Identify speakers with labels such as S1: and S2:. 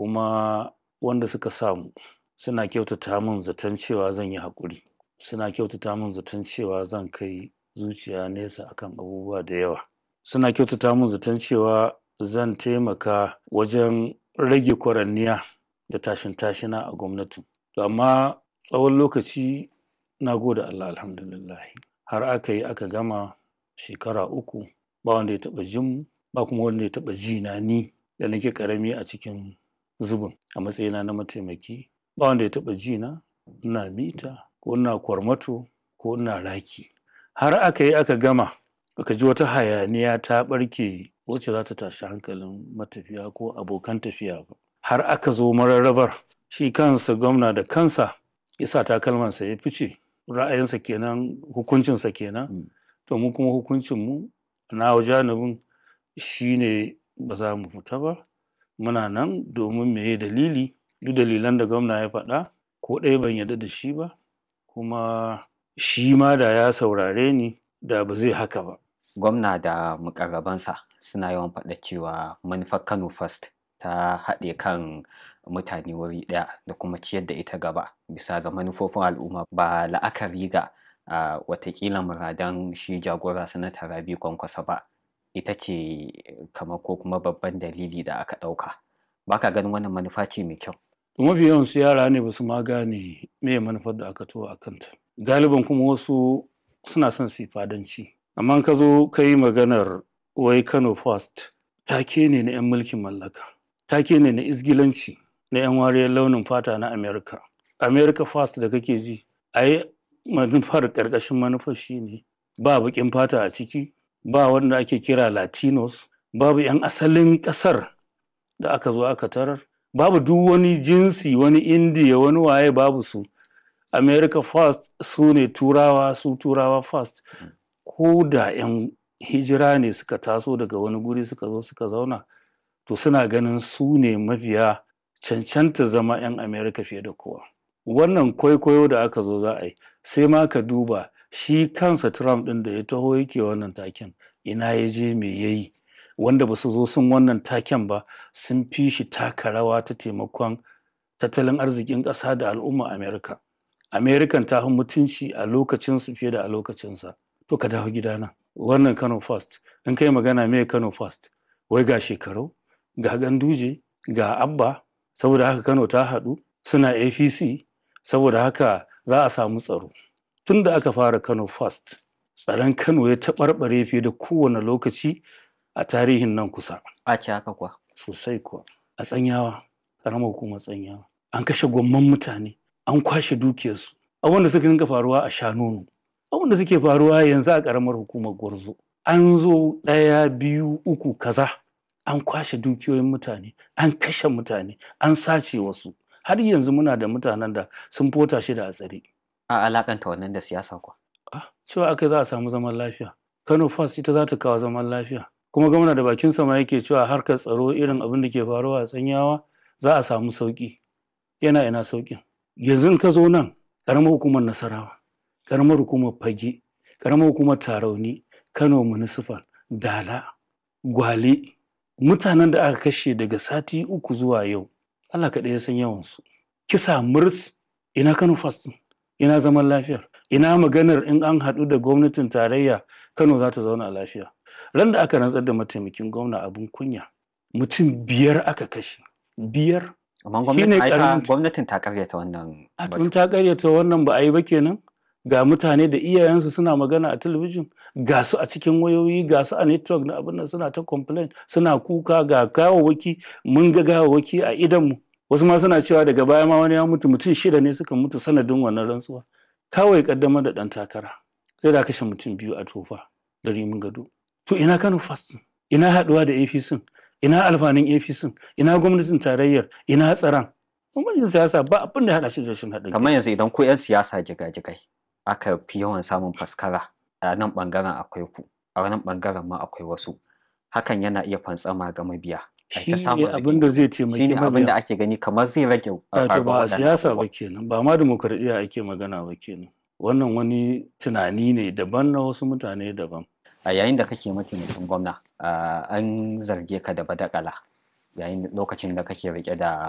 S1: Kuma wanda suka samu suna kyautata min zaton cewa zan yi haƙuri, suna kyautata min zaton cewa zan kai zuciya nesa akan abubuwa da yawa, suna kyautata min zaton cewa zan taimaka wajen rage kwaranniya da tashin tashina a gwamnatin. To amma tsawon lokaci, na gode Allah, alhamdulillahi, har aka yi aka gama shekara 3, ba wanda ya taɓa jin mu, ba kuma wanda ya taɓa ji na, ni da nake ƙarami a cikin zubin a matsayina na mataimaki, ba wanda ya taɓa ji na ina mita ko ina kwarmato ko ina raki. Har aka yi aka gama, aka ji wata hayaniya ta ɓarke wacce za ta tashi hankalin matafiya ko abokan tafiya ba. Har aka zo mararrabar, shi kansa gwamna da kansa ya sa takalmansa ya fice. Ra'ayinsa kenan, hukuncinsa kenan. To mu kuma hukuncinmu na janibin shine ba za mu fita ba, muna nan. Domin meye dalili? Duk dalilan da gwamna ya faɗa, ko ɗaya ban yarda da shi ba. Kuma shi ma da ya saurare ni, da ba zai haka ba.
S2: Gwamna da mukarrabansa suna yawan faɗa cewa manufar Kano First ta haɗe kan mutane wuri ɗaya da kuma ciyar da ita gaba bisa ga manufofin al'umma, ba la'akari ga watakila muradan shi jagora Sanata Rabi Kwankwaso ba, ita ce kamar ko kuma babban dalili da aka ɗauka. Ba ka ganin wannan manufa ce mai kyau?
S1: Mafi yawansu yara ne, ba su ma gane meye manufar da aka taho a kanta. Galiban kuma wasu suna son su yi fadanci. Amma in ka zo ka yi maganar wai Kano First, take ne na 'yan mulkin mallaka, take ne na izgilanci na 'yan wariyar launin fata na America. America First da kake ji, ai manufar, ƙarƙashin manufar shine ba baƙin fata a ciki, ba wanda ake kira Latinos, babu 'yan asalin ƙasar da aka zo aka tarar, babu duk wani jinsi, wani Indiya, wani waye, babu su. America First su ne Turawa, su Turawa First. Ko da 'yan hijira ne suka taso daga wani guri suka zo suka zauna, to suna ganin su ne mafiya cancanta zama 'yan America fiye da kowa. Wannan kwaikwayo da aka zo za a yi, sai ma ka duba shi kansa Trump ɗin da ya taho yake wannan taken, ina ya je, me ya yi? Wanda ba su zo sun wannan taken ba sun fi shi taka rawa ta taimakon tattalin arzikin ƙasa da al'umma America. American ta fi mutunci a lokacinsu fiye da a lokacinsa. To ka dawo gidana. Wannan Kano First, in kai magana me Kano First, wai ga Shekarau, ga Ganduje, ga Abba, saboda haka Kano ta haɗu, suna APC, saboda haka za a samu tsaro. Tun da aka fara Kano First, tsaron Kano ya taɓarɓare fiye da kowane lokaci a tarihin nan kusa.
S2: A ce haka kuwa?
S1: Sosai kuwa. A Tsanyawa, ƙaramar hukumar Tsanyawa, an kashe gwamman mutane, an kwashe dukiyarsu. Abubuwan da suka dinga faruwa a Shanono, abubuwan da suke faruwa yanzu a ƙaramar hukumar Gwarzo. An zo ɗaya, biyu, uku, kaza, an kwashe dukiyoyin mutane, an kashe mutane, an sace wasu. Har yanzu muna da mutanen da sun fota shida a tsare.
S2: A alaƙanta wannan da siyasa kuwa?
S1: Ah, cewa aka za a samu zaman lafiya. Kano First ita za ta kawo zaman lafiya. Kuma gwamna da bakinsa ma yake cewa harkar tsaro, irin abin da ke faruwa a Tsanyawa, za a samu sauƙi. Yana ina sauƙin? Yanzu in ka zo nan, ƙaramar hukumar Nasarawa, ƙaramar hukumar Fage, ƙaramar hukumar Tarauni, Kano Municipal, Dala, Gwale, mutanen da aka kashe daga sati 3 zuwa yau, Allah kaɗai ya san yawansu. Kisa murs, ina Kano First ɗin? Ina zaman lafiyar? Ina maganar in an haɗu da gwamnatin tarayya Kano za ta zauna lafiya? Ran da aka rantsar da mataimakin gwamna, abin kunya, mutum 5 aka kashe. 5.
S2: Amma
S1: Shi ne
S2: gwamnatin ai ta
S1: ƙaramin
S2: gwamnatin ta ƙaryata wannan
S1: A
S2: batu.
S1: tun ta ƙaryata wannan ba a yi ba kenan? Ga mutane da iyayensu suna magana a talabijin, ga su a cikin wayoyi, ga su a network na abin nan, suna ta complain, suna kuka, ga gawawwaki, mun ga gawawwaki a idonmu. Wasu ma suna cewa daga baya ma wani ya mutu, mutum 6 ne suka mutu sanadin wannan rantsuwa. Kawai ƙaddamar da ɗan takara, sai da kashe mutum 2 a Tofa da Rimin Gado. To ina Kano First ɗin? Ina haɗuwa da APC? Ina alfanun APC? Ina gwamnatin tarayyar? Ina tsaron? Bambancin siyasa ba abin da ya haɗa shi da rashin haɗin kai.
S2: Kamar yanzu idan ku 'yan siyasa jigajigai aka fi yawan samun faskara, a nan ɓangaren akwai ku, a nan ɓangaren ma akwai wasu. Hakan yana iya fantsama ga mabiya. Ai
S1: Shi
S2: ta
S1: ne
S2: samun
S1: abin da zai
S2: rigingimu. Shi
S1: taimaki
S2: ne abin da
S1: mabiya.
S2: ake gani kamar zai rage
S1: Wato
S2: faruwar
S1: ba a
S2: waɗannan
S1: siyasa ba
S2: abubuwan.
S1: kenan, ba ma dimokuraɗiyya ake magana ba kenan. Wannan wani tunani ne daban na wasu mutane daban.
S2: A yayin da kake mataimakin gwamna, an zarge ka da badakala yayin lokacin da kake riƙe da